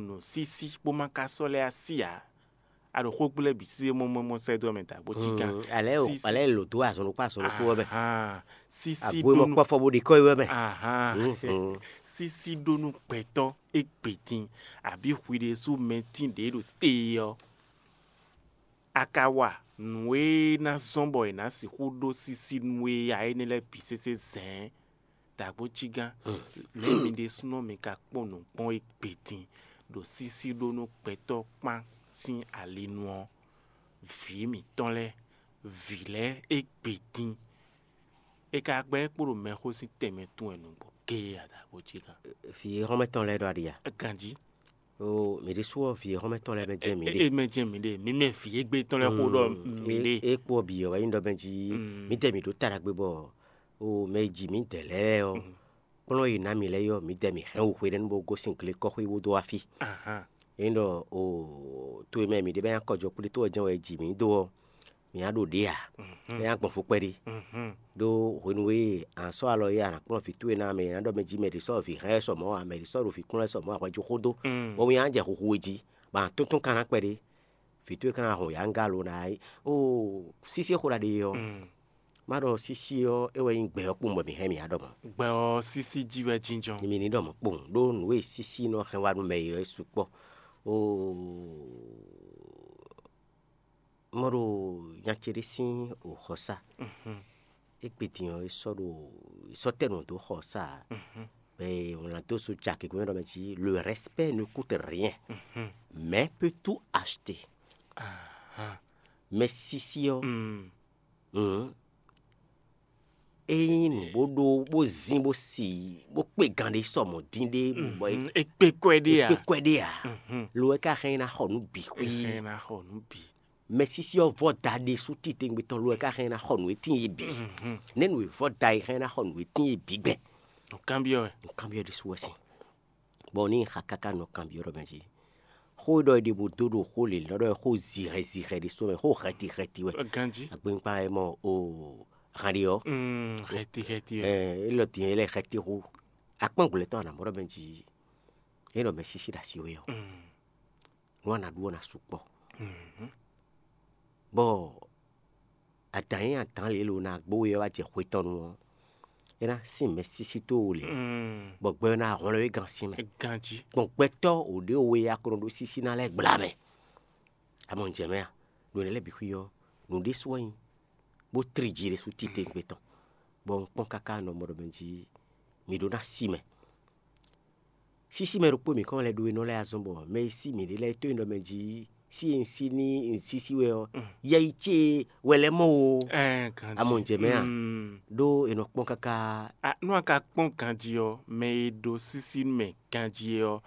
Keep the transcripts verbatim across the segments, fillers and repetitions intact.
Nǔ sísí bó má ka sɔ́ lɛ́ así ǎ. A ɖo xógblɛ́ bǐ sí mɔ́mɔ́mɔ́ sɛ́ dó mɛ dǎgbó cígán. Alɛ o alɛ lo dó azɔn ɖokpó azɔn ɖokpó wɛ mɛ. Sísí Agbo mɔ ɖónú kpɔfɔ bó ɖi kɔ́ yi wɛ mɛ. Ahan. Sísí ɖónú gbɛtɔ́ égbé din, abǐ hwi ɖésú mɛ tín ɖě ɖo te ɔ́, a ka wa nǔ e ná zɔ́n bɔ è nǎ sixú ɖó sísí nú we ya énɛ́ lɛ́ɛ bǐ sésé zɛ̌n. Dǎgbó cígán, lě mi ɖésúnɔ mi ka kpɔ́n nǔ kpɔ́n égbé din ɖo sísí ɖónú gbɛtɔ́ kpán sín ali nu ɔ́, vǐ mǐtɔn lɛ́ɛ, vǐ lɛ́ɛ égbé din. È ka gbɛ́ kpo ɖo mɛxó sín tɛnmɛ tún wɛ nǔgbó géé a dǎgbó cígán. Vǐ e xɔ́mɛ tɔn lɛ́ɛ ɖɔ aɖi a? Ganjí. O mǐ ɖésú ɔ́ vǐ e xɔ́mɛ tɔn lɛ́ɛ mɛ jɛ mǐ ɖe. E mɛ jɛ mǐ ɖe, mǐ mɛ vǐ égbé tɔn lɛ́ɛ xó ɖɔ mǐ ɖe. É kpo ɔ́ bǐ ɔ́ wɛ nyí ɖɔ mɛ jí mǐdɛɛ mǐ ɖó ta ɖagbe bɔ o mɛ e ji mǐdɛɛ lɛ́ɛ ɔ́ kplɔ́n e ná mǐ lɛ́ɛ ɔ́ mǐdɛɛ mǐ hɛn wǔ hwedɛ́nu bó gosín glekɔ́xwé bó dó wá fí. Ahan. É nyí ɖɔ o to e mɛ mǐ ɖe bɛ́ nyí akɔjɔ kplé tó wɛ jɛ́n wɛ è ji mǐ dó ɔ́, mǐ ná ɖo ɖě ǎ. É ná gbɔn fó kpɛɖé. Ɖó hwenu e a nǎ sɔ́ alɔ é a nǎ kplɔ́n vǐ towe ná mɛ è nǎ ɖɔ mɛ jí mɛ ɖě sɔ́ vǐ hɛn wɛ sɔ mɔ̌ ǎ, mɛ ɖě sɔ́ ɖo vǐ kplɔ́n wɛ sɔ mɔ̌ ǎ hwɛ̌ jó xó dó, bɔ winnyá jɛ huhu we jí, bɔ a nǎ tún tún kan ná kpɛɖé. Vǐ towe ka ná hɔn yǎ ŋgá lo ná yi. Oo sísí e xo ɖa ɖe é ɔ́, má ɖɔ sísí ɔ́ é wɛ nyí gbɛ ɔ́ kpowun bɔ mǐ hɛn mǐ á ɖɔ mɔ̌. Gbɛ ɔ́ sísí jí wɛ jínjɔ́n. Mi ní ɖɔ mɔ̌ kpowun ɖó nǔ e sísí nɔ hɛn wá nú mɛ é ɔ́ é sukpɔ́. Oo mɔ ɖo nya ce ɖé sín xɔsá. Égbé din ɔ́ é sɔ́ ɖo é sɔ́ tɛ́ nǔ dó xɔsá ǎ. Bɛ wlán dó so ja gěgé ɖɔ mɛ jí: le respect ne coûte rien, mais peut tout acheter. Mɛ sísí ɔ́, ée nyí nǔ bó ɖó bó zín bó si bó kpé gan ɖé sɔ mɔ̌ dín ɖé bɔ é kpé kwɛ ɖé à kpé kwɛ ɖé ǎ. Lo é ka hɛn ná xɔ nǔ bǐ xwí. Ɛ na xɔ nú bǐ. Mɛ sísí ɔ́ vɔ́ da ɖésú titewungbe tɔn lo é ka hɛn ná xɔ nǔ e tíin é bǐ. Nɛ̌ nǔ e vɔ́ da é hɛn ná xɔ nǔ e tíin é bǐ gbɛn? Nǔkanbyɔ́ wɛ. Nǔkanbyɔ́ ɖésú wɛ sín. Bɔ ní xa káká nɔ kanbyɔ́ ɖɔ mɛ jí. Xó e ɖɔ é ɖe bó dó ɖo xó lě lɔ ɖɔ xó zihɛ zihɛ ɖésú mɛ, xó hɛti hɛti wɛ. Ganjí. Agbɛnpa ɛ mɔ o hàn ɖe ɔ́. Mm, Hɛti hɛti wɛ. Ɛ é lɔ din é lɛ hɛti xó. Akpɔ́n gblɛ tɔn anamɔ ɖɔ mɛ jí. É nɔ mɛ sísí ɖo asi wɛ ɔ́. Mm, Nú a nǎ ɖu ɔ́ ná sukpɔ́. mhm. Bɔ adǎn e adǎn lě lo ná gbó we ɔ́ wá jɛ xwe tɔn nu ɔ́, é ná sín mɛ sísí tó o lě, Mm, bɔ gbɛ ɔ́ ná hwlɛ́n we gán sín mɛ. Ganjí. Gbɔn gbɛtɔ́ o ɖě o we a ko nɔ ɖó sísí ná lɛ́ɛ gbla mɛ. A mɔ un jɛ mɛ a? Nǔ énɛ́ lɛ́ɛ bǐ xwí ɔ́, nǔ ɖésú wɛ nyí, bó tlí jí ɖésú titewungbe tɔn, bɔ un kpɔ́n káká nɔ mɔ ɖɔ mɛ jí mi ɖó ná sí mɛ. Sísí mɛ ɖokpó mǐ kɔn lɛ́ ɖó e nɔ lɛ́ azɔn bɔ mɛ e sí mǐ ɖe lɛ́ɛ tó e nɔ mɛ jí sí e un sí ní un sísí wɛ ɔ́, yɛ yi ce wɛ lɛ́ mɔ o. Ɛ Ganjí. A mɔ un jɛ mɛ a? Mm. Ɖó è nɔ kpɔ́n káká. A nú a ka kpɔ́n ganjí ɔ́, mɛ e ɖó sísí mɛ ganjí ɔ́,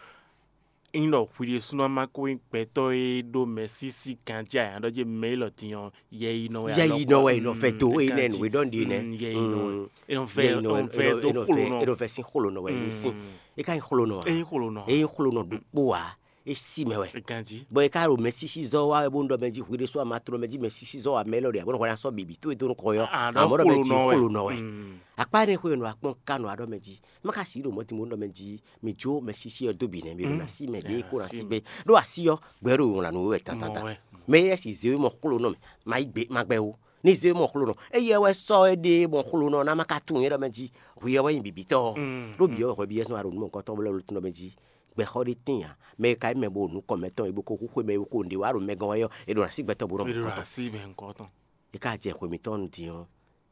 ényí ɖɔ hwi ɖésúnɔ ma ko nyí gbɛtɔ́ e ɖó mɛ sísí ganjí ǎ, ɖɔ jí mɛ élɔ́ din ɔ́, yɛ yi nɔ wɛ Yɛ yi nɔ wɛ è nɔ vɛ do e nɛ nǔ e ɖɔ nɖi nɛ. Yɛ yi nɔ wɛ. È nɔ vɛ Yɛ yi nɔ è nɔ vɛ do xlonɔ. È nɔ vɛ sín xlonɔ wɛ ní sín. É ka nyí xlonɔ a? Ényí xlonɔ. É nyí xlonɔ ɖokpó a? É sí mɛ wɛ. Ganjí. Bɔ é ka ɖo mɛ sísí zɔ wa wɛ bó ń ɖɔ mɛ jí hwi ɖésú a ma tló mɛ jí mɛ sísí zɔ wa mɛ élɔ́ ɖe a bó nɔ hwɛ ná sɔ́ bǐbí tó e dó nukɔn yɔ. Ah, Amɔ̌ ɖɔ mɛ jí xlonɔ wɛ. Xlonɔ wɛ. Mm. Akpá énɛ́ xwé nɔ akpɔ́n ka nɔ aɖɔ mɛ jí. Má ka sí ɖo mɔ̌ din bó ń ɖɔ mɛ jí mi jó mɛ sísí ɔ́ dó bǐ nɛ́ mi ɖo Mm. ná sí mɛ ɖě Ah, kó ná sí sí mɛ. gbé. Ɖó así ɔ́ gbɛ ɖo wlǎn nǔ wɛ Mɔ tantanta. wɛ. Mɛ yɛ si zéwé mɔ xlonɔ mɛ ma yi gbé ma gbɛ o. Ní zéwé mɔ xlonɔ eyɛ wɛ sɔ é ɖe mɔ xlonɔ ná má ka tunwun é ɖɔ mɛ jí hwi ɔ́ wɛ nyi bǐbítɔ́. Mm, Ɖó bǐ ɔ́ hwɛ bíyɛ́ sɔ́ aɖo nú mɔ̌hunkɔtɔn bó lɛ́ wle tún ɖɔ mɛ jí gbɛxɔ ɖé tíin ǎ. Mɛ e ka nyí mɛ bo nukɔn mɛtɔn e bo ko hu xwé mɛ e bo ko nǔɖé wa ɖo mɛ gɔ́n wɛ ɔ́, è ɖo ná sí gbɛtɔ́ bó nɔ Mɛ ɖo mɔ̌hunkɔtɔn. asi mɛ ŋkɔtɔn. É ka jɛ xwe mǐtɔn din ɔ́,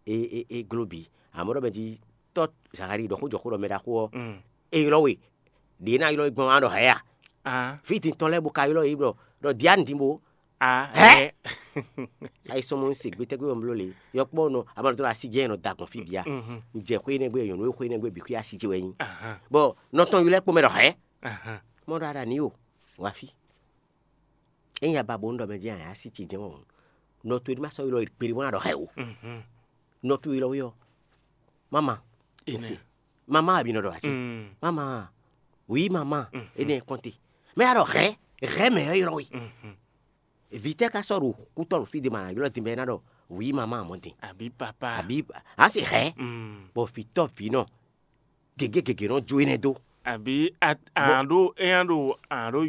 é é é gló bǐ. Amɔ̌ ɖɔ mɛ jí tɔ́ Zaxali ɖɔ xó jɔ xó ɖɔ mɛ ɖaxó ɔ́, Mm. é ylɔ́ we ɖě ná ylɔ́ we gbɔn wá ɖɔ hɛ̌ a? Ah, Fí din tɔn lɛ́ɛ bo ka ylɔ́ yě ɖɔ ɖɔ Diane din bo. ah, Hɛ? hɛ. Ayi sɔmɔ ń se gbétɛ́gbé ɔ́ bló le yɔkpɔ́ nɔ amɔ̌ tó asi jẹ́ nɔ da gbɔn fí bia. Mhm. Ń jẹ xwé nɛgbé nyɔ̌nu xwé nɛgbé bǐ xwé asi jɛ wɛ nyí. Ahan, Bɔ nɔtɔn ylɔ́ kpó mɛ ɖɔ hɛ̌? ahan. Mɔ ɖɔ aɖa ní o wá fí. Ényí aba bo ń ɖɔ mɛ jẹ́ àyà sí ce jẹ́ wɔn. Nɔ to ma sɔ́ ylɔ́ kpéɖé bó ná ɖɔ hɛ̌ o. Mhm. Nɔ to ylɔ́ wí ɔ́. Mama. Ine. Ese. Mama àbí nɔ ɖɔ àti. Mm. Mama. Oui mama. Mhm. Ene kɔnte. Mɛ ya ɖɔ hɛ̌ hɛ̌ mɛ ɔ́ ylɔ́ wí. Mhm. Vǐ tɛ́ ka sɔ́ ɖo kútɔ́ nɔ fí ɖé ma ná ylɔ́ din bɔ é ná ɖɔ oui mama mɔ̌ din. Àbí papa. Àbí asi hɛ̌. Mm. Bɔ vǐtɔ́ vǐnɔ gěgé gěgé nɔ jó énɛ́ dó. Àbí a- ǎ ɖó é nya ɖo ǎ ɖó